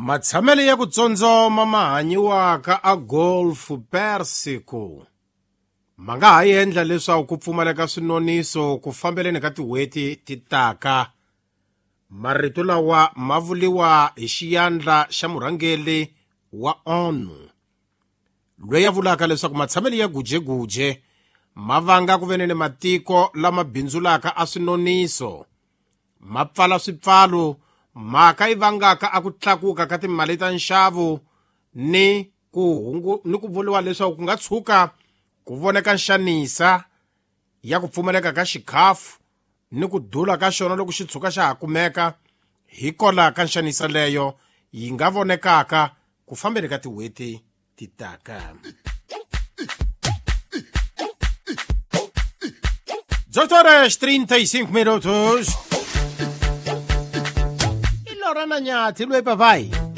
Matshamelo ya ku tsondzoma ma hanyiwaka a Golf Persico ma nga ha endla leswaku ku pfumaleka swinoniso ku fambeleni ka tin'hweti ti taka. Marito lawa ma vuriwa hi xiyandla xa murhangeri wa ONU, loyi a vulaka leswaku matshamelo ya gujeguje ma vanga ku venene matiko lama bindzulaka a swinoniso ma pfala swipfalo, mhaka yi vangaka a ku tlakuka ka timali ta nxavo ni ku vuriwa leswaku ku nga tshuka ku voneka nxanisa ya ku pfumaleka ka xikhafu ni ku dula ka xona loko xi tshuka xa ha kumeka, hikola ka nxanisa leyo yi nga vonekaka ku fambeni ka tin'hweti ti taka. 18 horas 35 minutos. I Lorena Nyathi loyi papai.